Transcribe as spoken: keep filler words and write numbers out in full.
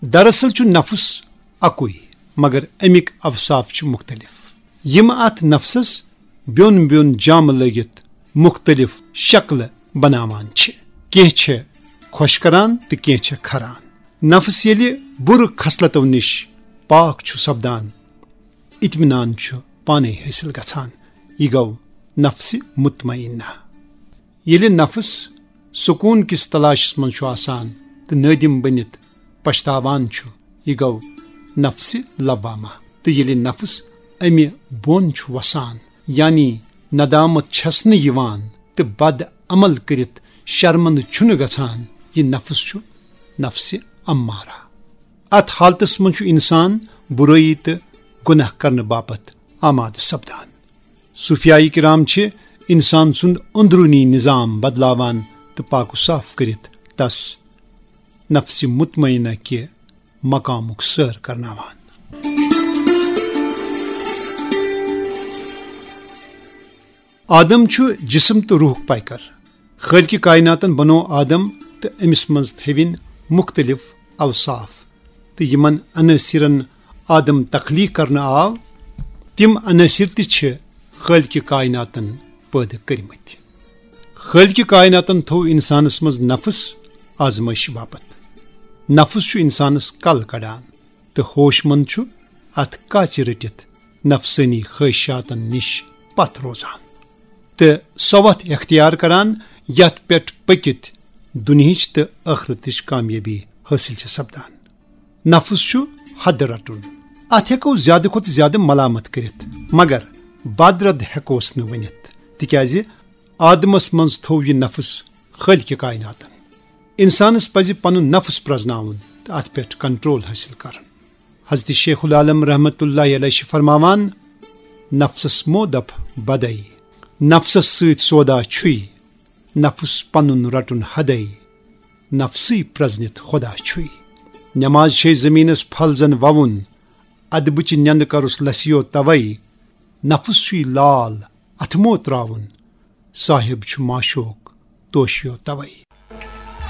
دراصل چھُ نفس اکُے، مگر امیِکۍ اوصاف چھِ مختلف، یِم اتھ نفسس بیوٚن بیوٚن جامہٕ لٲگِتھ مختلف شکلہٕ بناوان چھِ۔ کینٛہہ چھِ خۄش کران تہٕ کینٛہہ چھِ کھران۔ نفس ییٚلہِ بُرٕ خصلتو نِش پاک چھُ سپدان، اطمینان چھُ پانے حٲصِل گژھان۔ یہِ گوٚو نفس مطمئنہ۔ ییٚلہِ نفس سکوٗن کِس تلاشس منٛز چھُ آسان تہٕ نٲدِم بٔنِتھ پچھتاوان چھُ، یہِ گوٚو نفس لوامہ۔ تہٕ ییٚلہِ نفس امہِ بۄن چھُ وسان، یعنی ندامت چھس نہٕ یِوان تہٕ بد عمل کٔرِتھ شرمندٕ چھُنہٕ گژھان، یہِ نفس چھُ نفس امارہ۔ اتھ حالتس منٛز چھُ انسان برٲیی تہٕ گناہ کرنہٕ باپتھ آمادٕ سپدان۔ صوفیائی کرام چھِ انسان سُنٛد اندرونی نظام بدلاوان تہٕ پاک و صاف کٔرِتھ تس نفس مطمئنہ کہِ مقامُک سٲر کرناوان۔ آدم چھُ جسم تہٕ روحُک پیکر۔ خالقِ کائناتن بنوو آدم تہٕ أمِس منٛز تھٲوِن مختلف اوصاف، تہٕ یِمن عناصرن آدم تخلیق کرنہٕ آو، تِم عناصر تہِ چھِ خالقِ کائناتن پٲدٕ کٔرمٕتۍ۔ خالقِ کائناتن تھوو انسانس منٛز نفس آزمٲیشہِ باپتھ۔ نفس چھُ انسانس کل کڑان تہٕ ہوش مند چھُ اتھ کاژِ رٔٹِتھ نفسٲنی خواہشاتن نِش پتھ روزان تہٕ سۄ وتھ اختیار کران، یتھ پٮ۪ٹھ پٔکِتھ دُنہِچ تہٕ ٲخرتٕچ کامیٲبی حٲصِل چھِ سپدان۔ نفس چھُ حد رٹُن۔ اتھ ہٮ۪کو زیادٕ کھۄتہٕ زیادٕ ملامت کٔرِتھ، مگر بدرد ہٮ۪کوس نہٕ ؤنِتھ، تِکیازِ آدمس منٛز تھوو یہِ نفس خالقِ کائناتن۔ انسانس پزِ پنُن نفس پرزناوُن تہٕ اتھ پٮ۪ٹھ کنٹرول حٲصِل کرُن۔ حضرت شیخ العالم رحمت اللہ علیہ چھِ فرماوان، نفسس مو دپ بدے، نفسس سۭتۍ سودا چھُے، نفس پنُن رٹُن حدے، نفسٕے پرزنِتھ خدا چھُے۔ نماز چھے زمینس پھل زن ووُن، ادبٕچہِ نٮ۪ندٕ کرُس لسیو توے، نفس چھُے لال اتھٕ مو تراوُن، صاحب چھُ معشوق توشیو توے۔